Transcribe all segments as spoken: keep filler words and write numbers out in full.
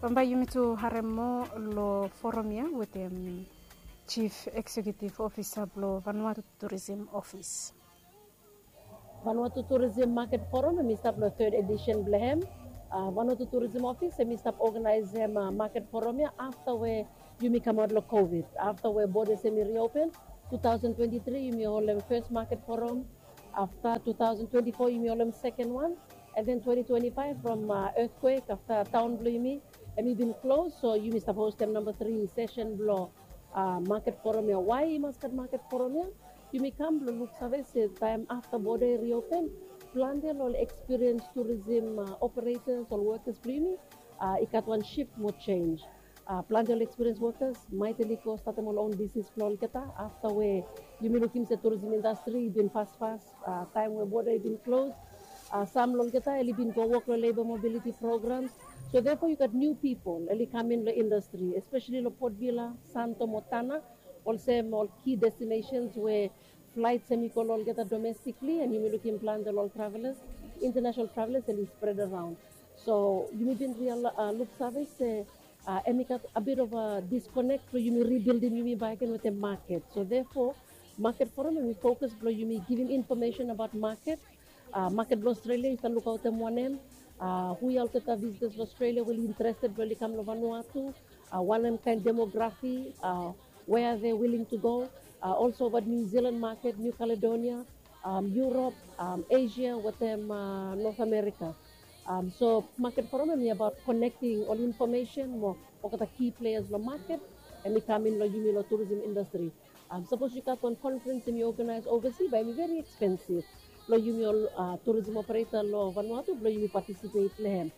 Bambae yumi tu harem moa lo forum ya wetem Chief Executive Officer blo Vanuatu Tourism Office. Vanuatu Tourism Market Forum hemi stap lo third edition blo hem. Vanuatu Tourism Office hemi stap organizem market forum ya afta we yumi kamaot lo COVID. Afta we borders hemi reopen, two thousand twenty-three yumi holem first market forum. Afta two thousand twenty-four yumi holem second one. And then twenty twenty-five from earthquake afta taon blo yumi hemi bin close, so yumi stap hostem namba three session blo market forum ya. Why i mas gat market forum ya? Yumi kam blo luksave se taem afta border i reopen, plante lo ol experience tourism operators, ol workers blo yumi i gat wan shift mo change. Plante ol experience workers maet oli go statem ol own business blo olgeta afta we yumi lukim se tourism industry i bin fasfas taem we border i bin close. Sam lo olgeta oli bin go wok lo labor mobility programs. So therefore yu gat new people oli kam in lo industry, especially lo Port Vila, Santo mo Tanna, olsem ol key destinations we flights hemi go lo olgeta domestically, and yumi lukim plante lo ol travelers, international travelers, and i spread around. So yumi bin real luksave se hemi gat a bit of a disconnect blo yumi rebuildim yumi bakegen wetem market. So therefore market forum hemi focus blo yumi givim information about market. Market blo Australia i stap lukaotem wanem? Hu ya olgeta visitors lo Australia we oli interested blo oli kam lo Vanuatu? Wanem kaen demography? Where are they willing to go? Also about New Zealand market, New Caledonia, Europe, Asia wetem North America. So market forum hemi about connecting ol information mo olgeta key players lo market hemi kam in lo yumi lo tourism industry. Sapos yu gat wan conference hemi organize oversea, bae hemi very expensive lo yumi ol tourism operator lo Vanuatu blo yumi participate lo hem.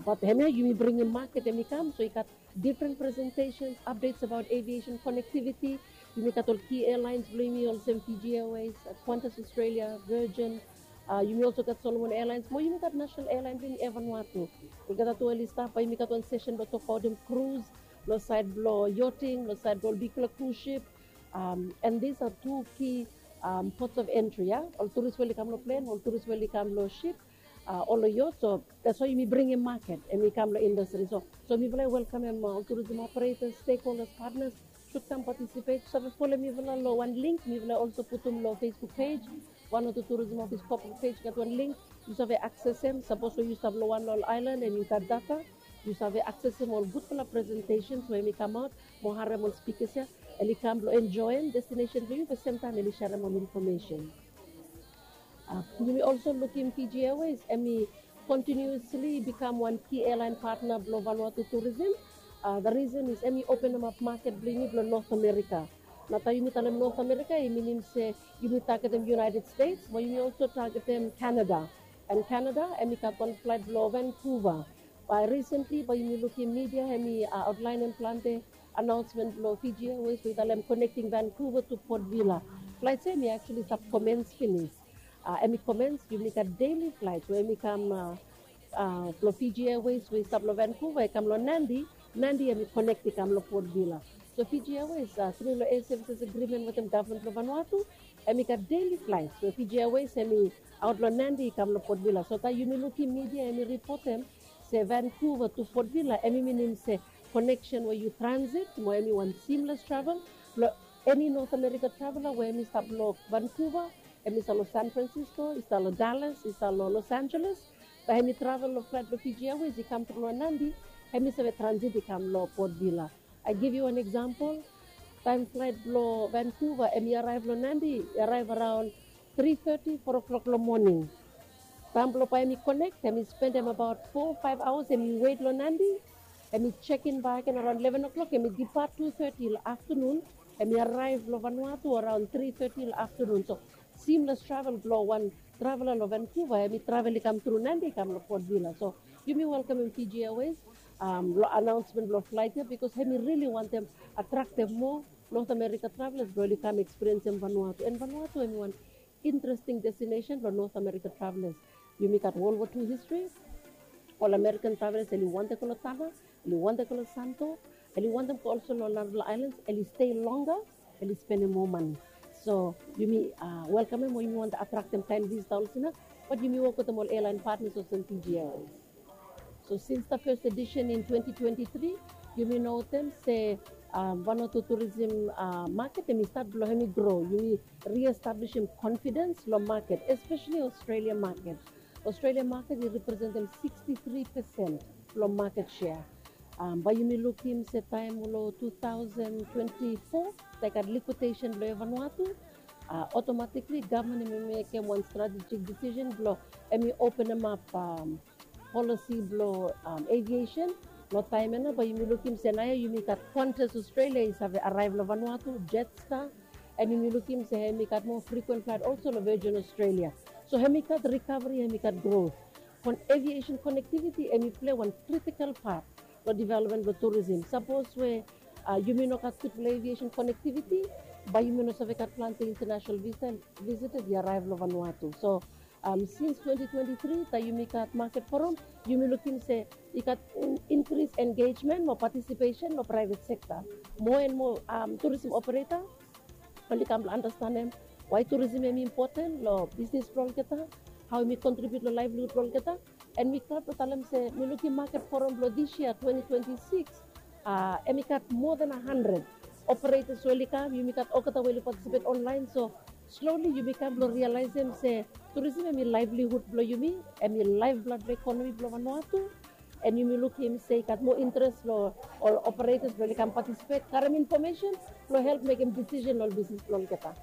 But hemia yumi bringim market hemi kam, so i gat different presentations, updates about aviation connectivity. Yumi gat ol key airlines blo yumi olsem Fiji Airways, Qantas Australia, Virgin. Yumi also gat Solomon Airlines mo yumi gat national airline blo yumi, Air Vanuatu. Olgeta tu oli stap, bae yumi gat wan session blo tokbaotem cruise, lo saed blo yachting, lo saed blo ol bigfala cruise ship. And these are two key ports of entry ya. Ol tourist we oli kam lo plane, ol tourist we oli kam lo ship, ol lo yacht. So that's why yumi bringim market hemi kam lo industry. So mifala i welkamem ol tourism operators, stakeholders, partners should come participate. Yu save folem mifala lo wan link mifala also putum lo Facebook page. Vanuatu Tourism Office corporate page gat wan link. Yu save accessem, sapos we yu stap lo wan lo ol island and yu gat data, yu save accessem ol gudfala presentations we hemi kamaot mo harem ol speakers ya. Oli kam blo enjoem destination blo yumi, be semtaem oli serem ol information. Yumi also lukim Fiji Airways hemi continuously become wan key airline partner blo Vanuatu tourism. The reason is hemi openem ap market blo yumi blo North America. Nao taem yumi talem North America i minim se yumi targetem United States, mo yumi also targetem Canada. And Canada hemi gat wan flight blo Vancouver. Bae recently bae yumi lukim media hemi outlineem plante announcement blo Fiji Airways we i talem connecting Vancouver to Port Vila. Flights ya hemi actually stap commence finis. Hemi commence, yumi gat daily flights we hemi kam blo Fiji Airways we i stap lo Vancouver i kam lo Nadi. Nadi hemi connect i kam lo Port Vila. So Fiji Airways tru lo air services agreement wetem gavman blo Vanuatu, hemi gat daily flights we Fiji Airways hemi aot lo Nadi i kam lo Port Vila. So taem yumi lukim media hemi ripotem se Vancouver to Port Vila, hemi minim se connection we yu transit mo hemi wan seamless travel. Lo eni North America traveler we hemi stap lo Vancouver, hemi stap lo San Francisco, i stap lo Dallas, i stap lo Los Angeles, bae hemi travel lo flight blo Fiji Airways i kam tru lo Nadi, hemi save transit i kam lo Port Vila. I give you an example. Taem flight blo Vancouver hemi arrive lo Nadi, i arrive around three thirty, four o'clock lo moning. Taem blo bae hemi connect, hemi spendem about four, five hours hemi wet lo Nadi. Hemi check in bakegen around eleven o'clock, hemi depart two thirty lo afternoon. Hemi arrive lo Vanuatu around three thirty lo afternoon. So seamless travel blo wan traveler lo Vancouver, hemi travel i kam tru Nadi i kam lo Port Vila. So yumi welkamem Fiji Airways lo announcement blo flight ya, because hemi really wantem attractem moa North America travelers blo oli kam experience em Vanuatu. And Vanuatu hemi wan interesting destination blo North America travelers. Yumi gat World War Two history. Ol American travelers oli wantem go lo Tanna, oli wantem go lo Santo, oli wantem go also lo narafala islands, oli stay longer, oli spendem moa mane. So yumi welkamem o yumi wantem attractem kaen visitor olsem ya, bat yumi wok wetem ol airline partners olsem Fiji Airways. So since the first edition in twenty twenty-three, yumi notem se um, Vanuatu tourism uh, market hemi start blo hemi grow. Yumi re-establishim confidence lo market, especially Australia market. Australia market i representem sixty-three percent lo market share. Um, bae yumi lukim se taem lo two thousand twenty-four, taem i gat liquidation blo Air Vanuatu, uh, automatically government hemi mekem wan strategic decision blo hemi openem ap um, policy blo um, aviation. Lo taem ia nao bae yumi lukim se naoia yumi gat Qantas Australia i save arrive lo Vanuatu, Jetstar, and yumi lukim se hemi gat moa frequent flight also lo Virgin Australia. So hemi gat recovery, hemi gat growth. Kon aviation connectivity hemi play wan critical part lo development blo tourism. Sapos we uh, yumi no gat gud blo aviation connectivity, bae yumi no save gat plante international visa visitors i arrive lo Vanuatu. So um, since twenty twenty-three taem yumi gat market forum, yumi lukim se i gat increase engagement mo participation lo private sector. More and more um, tourism operator oli kam blo understandem why tourism hemi important lo business blo olgeta, how hemi contribute lo livelihood blo olgeta. And mi glad blo talem se mi lukim market forum blo this year twenty twenty-six, uh, hemi gat more than a hundred operators we oli kam. Yumi gat olgeta we oli participate online. So slowly yumi kam blo realizem se tourism hemi livelihood blo yumi, hemi lifeblood blo economy blo Vanuatu. And yumi lukim se i gat moa interest lo ol operators blo oli kam participate, karem information blo help mekem decision lo ol business blo olgeta.